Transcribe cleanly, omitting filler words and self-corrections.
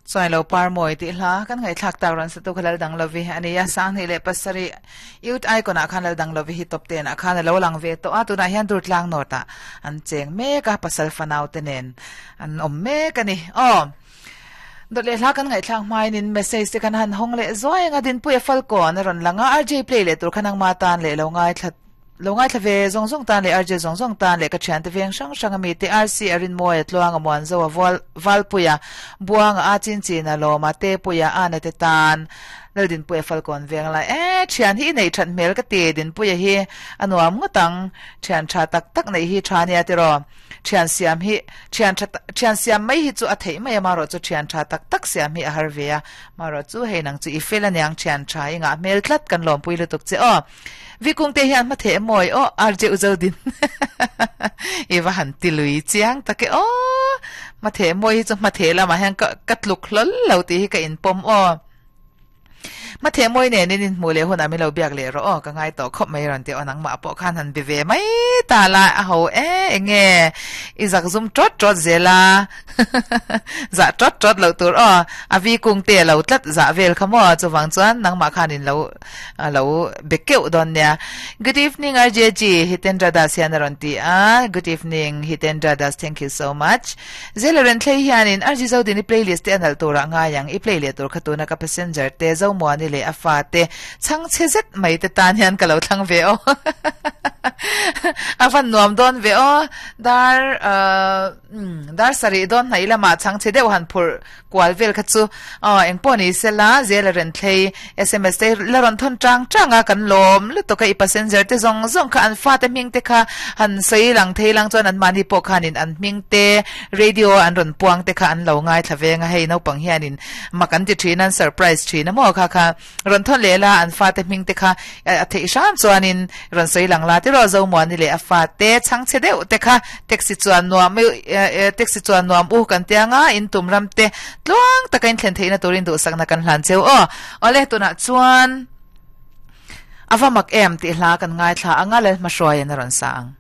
Chuailo Parmawi tih hla kan ngaihthlak tak rawn satu kha Laldang Lovi a ni a, 2007 Youth Icon ah khan Laldang Lovi hi top ten ah khan a lo lang ve tawh a, tunah hian Durtlang North ah an cheng mek a, pasal fanau te nen an awm mek a ni. Aw. Dawt leh hla kan ngaihthlak hmain in message te kan han hawng leh zuai ang a, Dinpuia Falkawn a rawn lang a, RJ play leh tur kha nangma tan leh lo ngaithla Lo ngaithla ve zawng zawng tan leh RJ zawng zawng tan leh ka thiante veng hrang hrang ami te RC a Rinmawia Tluanga Muanzoa Vual Valpuia Buanga a Chinchina Lawma Tepuia Ana te tan Laldinpuia Falkawn veng lai e thian hi i neih that hmel ka ti Dinpuia hi a nuam ngawt ang thian tha tak tak neih hi tha nia tiraw thian siam hi thian tha thian siam mai hi chu a theih mai a marawh chu thian tha tak tak siam hi a har ve a marawh chu hei nang chu i fel aniang thian tha i ngah hmel tlat kan lawmpui lutuk che aw. Vikung te hian hmatheh mawi aw RJ Uzodin i va han ti lui chiang tak e aw hmatheh mawi hi chu hmatheh lamah hian ka ka tluk hlawl lo tih hi ka inpawm aw hmatheh mawi nen in inhmuh leh hunah min lo biak leh rawh aw ka ngai tawh khawp mai rawn ti aw nangmah pawh khan han be ve mai ta la a ho e enge i zak zum tawt tawt zel a Zah tawt tawt loh tur aw, a vi kung te lo tlat zah vel kha maw, chuvang chuan nangmah khanin lo lo be keuh dawn nia. Good evening RJG, Hitendra Das hian a rawn ti a, Good evening Hitendra Das, thank you so much. Zela Renthlei hianin RG Zodini playlist te a nalh turah ngai ang, i play leh tur kha tuna ka passenger te Zomuani leh a fa te chhangchhe zet mai te tan hian ka lo thlang ve aw. A van nuam dawn ve aw, dar uh, Umm, dar sarih dawn hnaih lamah chhangchhe deuh han phurh kual vel kha chu aw engpawh ni sela zel a rawn thlei sms te la rawn thawn tang tang a kan lawm lutuk a i passenger te zawng zawng kha an fate hming te kha han sawi lang thei lang chuan an mahni pawh khanin an hming te radio an rawn puang te kha an lo ngaithla veng a hei naupang hianin mak an ti thin a an surprise thin a maw kha kha Rawn thawn leh la, an fate hming te kha a theih hram chuanin rawn sawi lang la tiraw Zomuani leh a fate chhangchhe deuh te kha taxi chuan nuam taxi chuan nuam u kan tia nga in tum ram te tluang taka in thlen theihna turin duhsakna kan hlan cheu aw. Awle tunah chuan a va mak em tih hla kan ngaithla anga Lalhmahruaiin a rawn sa ang.